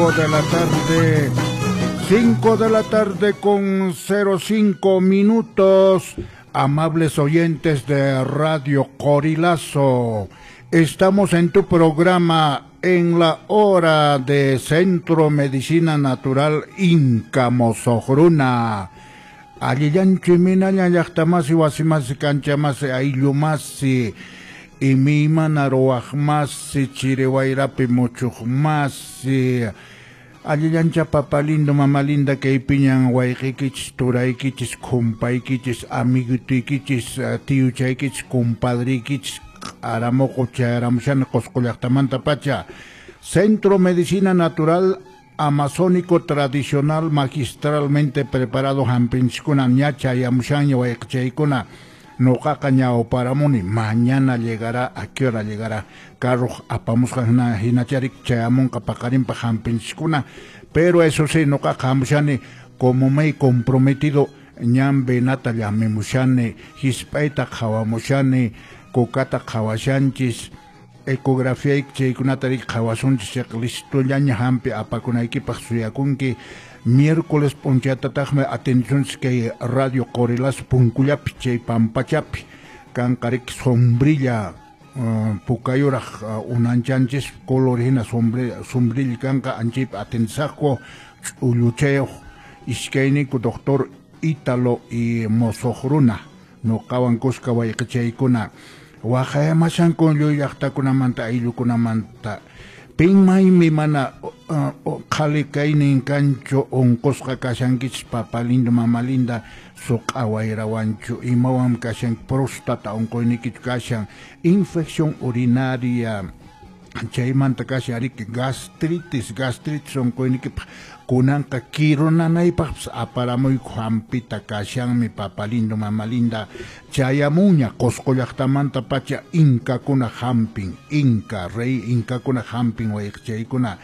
5 de la tarde. 5 de la tarde con 05 minutos. Amables oyentes de Radio Qorilazo, estamos en tu programa en la hora de Centro Medicina Natural Inca Mosoqruna. Allillanchu imaynalla llaqtamasi, wasimasi, kanchamasi, ayllumasi, imaymana ruwaqmasi, chiri wayrapi muchuqmasi. Allillancha papa lindo, mama linda, kaypiñan wayqiykichis, turaykichis, kumpaykichis, amiguituykichis, tiyuchaykichis, compadriykichis, aramuqu chayaramushani Qusqu llaqtamanta pacha. Centro Medicina Natural Amazónico Tradicional magistralmente preparado hampinchiskuna ña chayamushanña wayqichaykuna. Noqaqa ñawparamuni, mañana llegará, ¿a qué hora llegará? Carro apamusqan hinacharik chayamunqa paqarinpaq hampinchiskuna. Pero eso sí, noqaqa hamushani como me he comprometido, ñan venata llamimushani, hisp'ayta qhawamushani, kukata qhawashanchis, ecografía chaykunata rik qhawasunchis, chayqa listollaña hampi apakunaykipaq suyakunki. Miércoles p'unchaytataqmi atencionchis kay Radio Qorilazo punkullapi chay pampachapi kanqa riki sombrilla pukayuraq unanchanchis color hina sombrilla kanqa anchaypi atendisaqku ch'ulluchayuq iskayninku doctor Ítalo y Mosoqruna noqawan kuska wayqichaykuna waqayamashanku lluy llaqtakunamanta ayllukunamanta. Pinmaymi mana qhali kaynin kanchu unqusqa kashankichis papa lindo, mama linda, suq'a wayrawanchu imawan kashan próstata unquynikichu kashan infección urinaria chaymanta kashan riki gastritis unquynikipaq kunanqa kirunanaypaqpas aparamuyku hampita kashanmi papa lindo, mama linda. Chayamuña Qusqu llaqtamanta pacha inkakuna hampin, inka rey inkakuna hampin wayqichaykuna.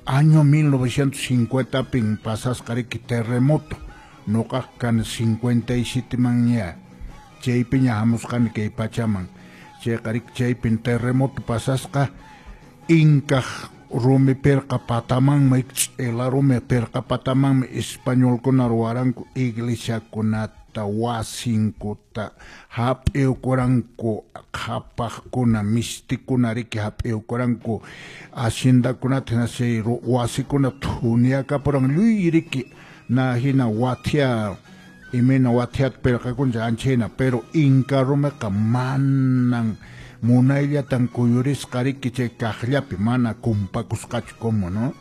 Año 1950 pin pasasqa riki terremoto, noqaqa kani 57 manña chaypiña hamusqani kay pachaman. Chayqa riki chaypin terremoto pasasqa inkaq rumi pirqa patamanmi, ch'ila rumi pirqa patamanmi españolkuna ruwaranku iglesiakunata, wasinkuta, hap'iwkuranku qhapaqkuna, mistikuna riki hap'iwkuranku haciendakunata, hina chay wasikuna thuniakapuran lluy riki na hina wathia imayna wathiata pirqakunchik ancha hina, pero inka rumiqa manan munayllatan kuyurisqa riki chay kaqllapi mana kumpakusqachu como, ¿no?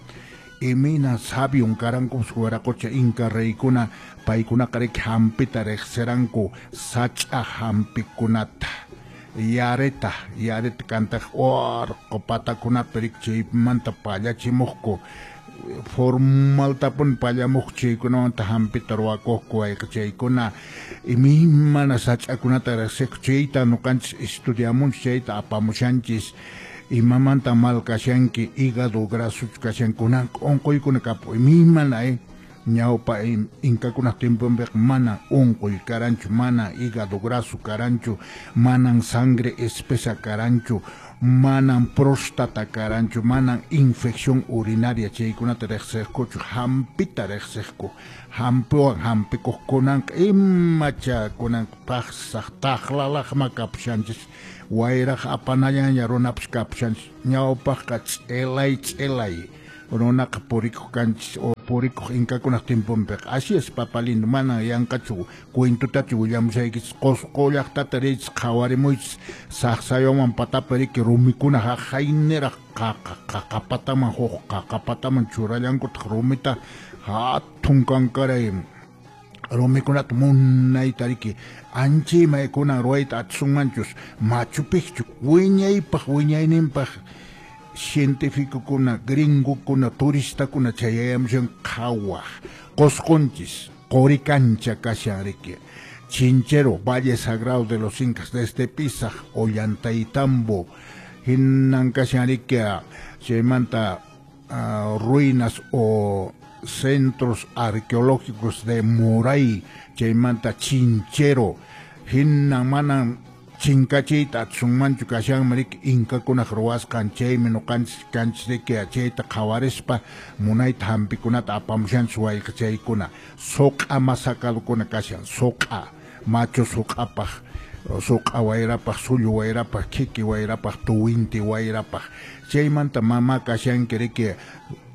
Imayna sabion karankupas wiraqocha inka reykuna, paykunaqa riki hampita riqsiranku sach'a hampikunata, yareta kantaq urqu patakunapi riki chaymanta pallachimuqku, formaltapuni pallamuq chaykunamanta hampita ruwakuqku wayqichaykuna. Imaymana sach'akunata riqsiqku chayta ñuqanchis estudiamunchis, chayta apamushanchis. Imamanta mal kashanki, hígado grasochu kashanki, kunanqa unquykuna kapu imaymana ñawpa inkakunaq tiemponpiqa mana unquy karanchu, mana hígado graso karanchu, manan sangre espesa karanchu, manan próstata karanchu, manan infección urinaria chaykunata riqsiqkuchu, hampita riqsiqku, hampiwan hampikuq. Kunanqa imacha kunanqa paqsaq taqlalaqma kapushanchis, wayraq apanallaña runapas kapushanchis. Ñawpaqqa ch'ilay ch'ilay runaqa purikuq kanchis o purikuq inkakunaq tiemponpiqa. Así es, papa lindo, mana yanqachu cuentutachu willamushaykichis. Qusqu llaqtata riychis qhawarimuychis saqsayuman patapi riki rumikuna haqayniraq qaqapataman huk qaqapataman churallankutaq rumita hatun kankaray rumikunata munayta riki anchayma kunan ruwayta atisunmanchus Machu Picchu wiñaypaq wiñayninpaq cientificokuna, gringokuna, turistakuna chayayamushan qhawaq. Qusqunchis Qorikancha kashan riki, Chinchero, Valle Sagrado de los Incas, desde Pisaq, Ollantaytambo, hinan kashan riki chaymanta ruinas o centros arqueológicos de Moray, chaymanta Chinchero, hinan manan Chinkachiyta atisunmanchu kashanmi riki inkakunaq ruwasqan chaymi ñuqanchis kanchis riki chayta qhawarispa munayta hampikunata apamushanchis wayqichaykuna suq'a masakadukuna kashan suq'a machu suq'apaq suq'a wayrapaq sullu wayrapaq khiki wayrapaq tuwinti wayrapaq chaymanta mama kashanki riki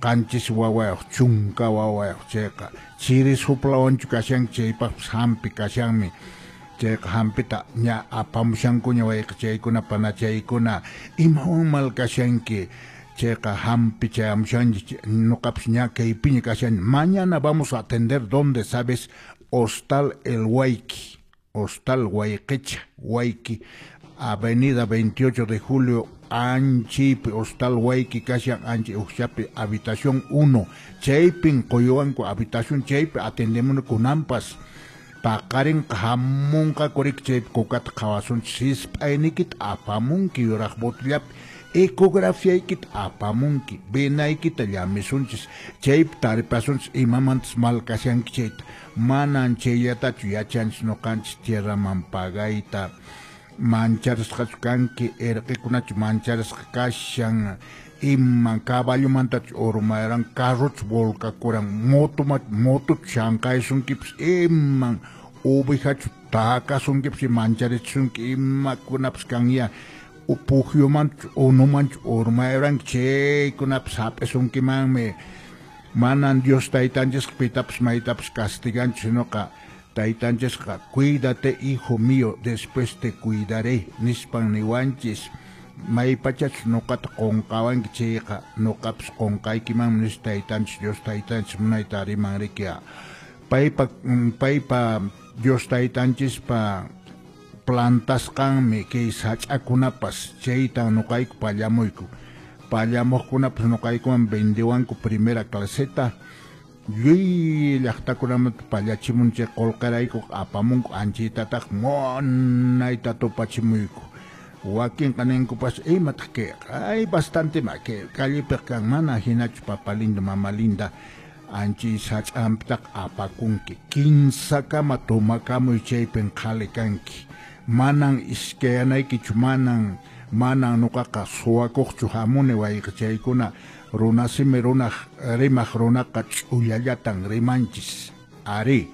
qanchis wawayuq chunka wawayuq chayqa chiri suplawanchu kashanki chaypaqpas hampi kashanmi chayqa hampita ña apamushankuña wayqichaykuna panachaykuna imawan mal kashanki chayqa hampi chayamushanchis ñuqapas ña kaypiña kashani mañana vamos a atender donde sabes Hostal El Huayqui Hostal Huayqicha Huayqui Avenida 28 de Julio Anchipi Hostal Huayqui kashan Anchi Uxchapi habitación 1 chaypin quyuwanku habitación chaypi atendemuni kunanpas paqarinqa hamunqaku riki chaypi kukata qhawasunchis sisp'ayniykita apamunki yuraq botillapi ecografiaykita apamunki venaykita llamisunchis chaypi taripasunchis imamantas mal kashanki chayta manan chayllatachu yachanchis ñuqanchis tierraman pagayta mancharisqachu kanki irqikunachu mancharisqa kashan iman caballomantachu urmayran carrochu volcakuran motochu llamk'aysunkipas iman ovejachu takasunkipas mancharichisunki imakunapas kanya pukyumanchu unumanchu urmayranki chaykunapas hap'isunkimanmi manan Dios taytanchisqa pitapas maytapas castiganchu sinoqa taytanchisqa cuídate hijo mío después te cuidaré nispan niwanchis maypachachus ñuqata qunqawanki chayqa ñuqapas qunqaykimanmi nispa taytanchis Dios taytanchis munayta riman riki paypa Dios taytanchispa plantasqanmi kay sach'akunapas chaytan ñuqayku pallamuyku pallamuqkunapas ñuqaykuman vendewanku primera claseta lluy llaqtakunamanta pallachimunchik qullqirayku apamunku anchaytataq munayta tupachimuyku wakinqa ninkupas imataq kayqa ay bastante ma kay callepiq kan mana hinachu papa lindo mama linda anchi sach'anpitaq apakunki kinsakama tomakamuy chaypin qhali kanki manan iskayanaykichu manan ñuqaqa suwakuqchu hamuni wayqichaykuna runasimi runaq rimaq runaqa ch'ullallatan rimanchis ari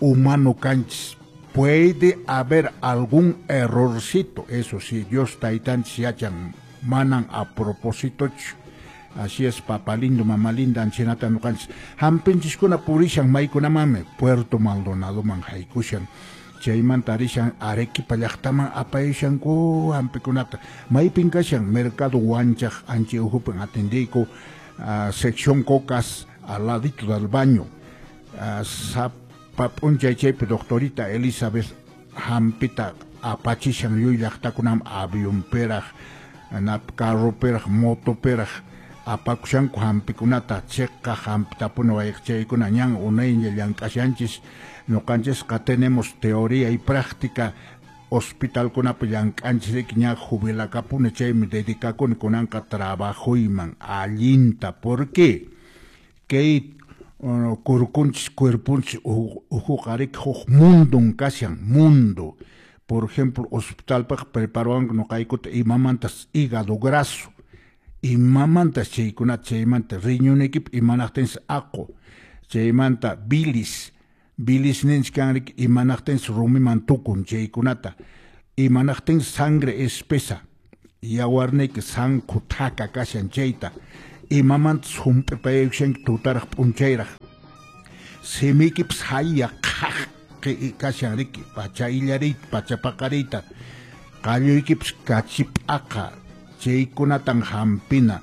humano kanchis puede haber algún errorcito eso sí Dios taytanchis yachan manan a propósitochu así es papa lindo mama linda anchinata ñuqanchis hampinchiskuna purishan maykunamanmi Puerto Maldonadoman haykushan chaymanta rishan Arequipa llaqtaman apayashanku hampikunata maypin kashan mercado Huanchaq anchi ukhupin atendiyku sección Cocas al ladito del baño sapa p'unchay chaypi doctorita Elizabeth hampita apachishan lluy llaqtakunaman avionpiraq carropiraq motopiraq apakushanku hampikunata chiqaq hampitapuni wayqichaykuna ñan unayña llank'ashanchis ñuqanchisqa tenemos teoría y práctica hospitalkunapi llank'anchis riki ña jubilakapuni chaymi dedicakuni kunanqa trabajuyman allinta porque kay kurkunchis cuerpunchis ukhuqa riki huk mundun kashan mundo por ejemplo hospitalpaq preparawanku ñuqaykuta imamantas hígado graso imamantas chaykunata chaymanta riñoniykipi imanaqtinsi aqu chaymanta bilis bilis ninchik kan riki imanaqtinsi rumiman tukun chaykunata imanaqtinsi sangre espesa yawarniyki sankhu thaka kashan chayta imamantas hump'ipayaykushanki tutaraq p'unchayraq simiykipas haya qhaqi kashan riki pacha illariyta pacha paqariyta qalluykipas kachip'aqa chaykunatan hampina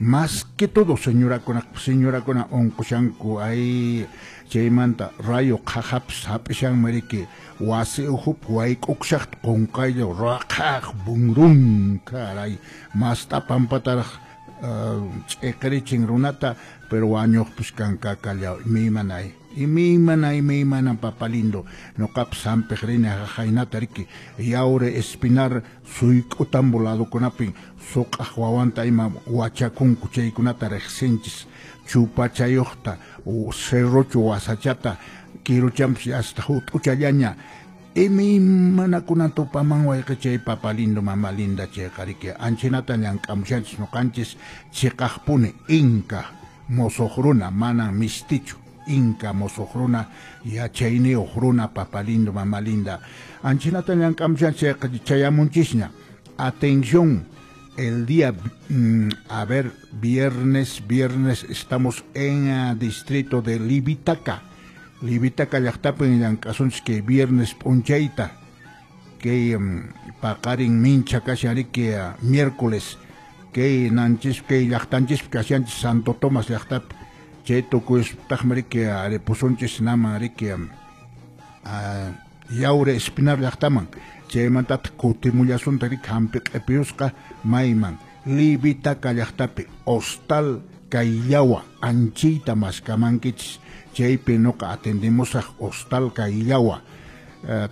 más que todo señorakuna unqushanku ay chaymanta rayo qhaqapas hap'ishanmi riki wasi ukhupi wayk'ukushaqta qunqaylla raqhaq bunrun caray masta pampataraq ch'iqirichin runata pero wañuqpis kankakallaw imaymanay imaymana papa lindo ñuqapas hampiq rini haynata riki Yaure Espinar suyk'utambo ladokunapin suq'aq wawanta ima wachakunku chaykunata riqsinchis chupachayuqta cerrochu wasachata kiruchanpas hasta hut'uchallaña Imaymanakunan tupaman wayqichay papa lindo mama linda chayqa riki anchinata llank'amushanchis ñuqanchis chiqaqpuni inka mosoq runa manan mistichu inka mosoq runa yachayniyuq runa papa lindo mama linda anchinata llank'amushanchis chayqa chayamunchisña. Atención, el día, a ver, viernes estamos en distrito de Livitaca. Livitaca llaqtapin llank'asunchis kay viernes p'unchayta kay paqarin mincha kashan riki miércoles kay nanchis kay llaqtanchispi kashanchis Santo Tomás llaqtapi chay tukuyspaqmi riki ripusunchis naman riki Yaure Espinar llaqtaman chaymantataq kutimullasunta riki hampi q'ipiyusqa mayman Livitaca llaqtapi hostal Kayllawa anchiyta maskamankichis chaypi nuqa atendimusaq hostal Kayllawa.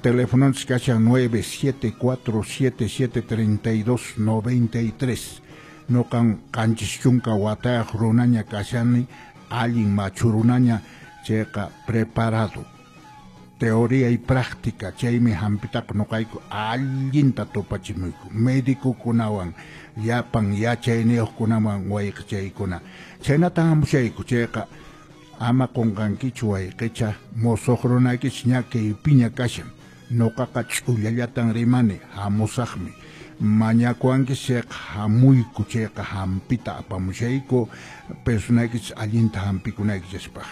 Telefononchis kashan 974773293 nuqan 70 watayaq runaña kashani allin machu runaña chayqa preparado teoría y práctica chaymi hampitaqa nuqayku allinta tupachimuyku médicokunawan llapan yachayniyuqkunawan wayqichaykuna chaynatan hamushayku chayqa ama qunqankichu wayqicha mosoq runaykichis ña kaypiña kashan nuqaqa ch'ullallatan rimani hamusaqmi mañakuwankichis chayqa hamuyku chayqa hampita apamushayku personaykichis allinta hampikunaykichispaq.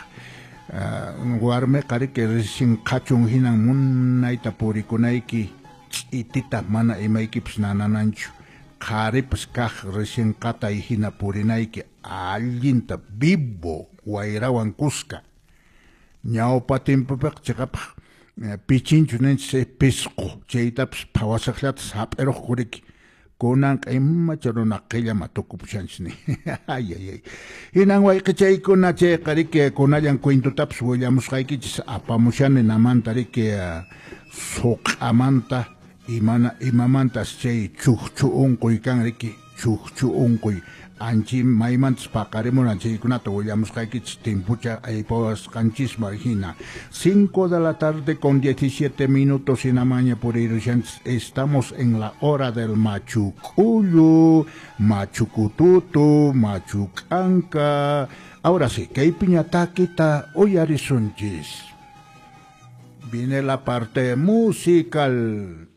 Warmiqa riki recién qhachun hinan munayta purikunayki ch'itita mana imaykipas nanananchu qharipas kaq recién qatay hina purinayki allinta vivo wayrawan kuska ñawpa timpupiqa chiqapaq pichinchu ninchis pisqu chaytapas phawasaqllata hap'iruqku riki kunanqa imacha runa qillama tukupushanchis ni ay ay ay hinan wayqichaykuna chayqa riki kunallan cuentutapas willamusqaykichis apamushani namanta riki suq'amanta imamantas chay chukchu unquy kan riki chukchu unquy anchi maymantas paqarimunan chaykunata willamusqaykichis timpucha aypawasqanchisman hina. 5 de la tarde con 17 minutos hinamaña purirushanchis estamos en la hora del machucullu, machucututu, machucanca. Ahora sí, kaypiña takita uyarisunchis. Viene la parte musical.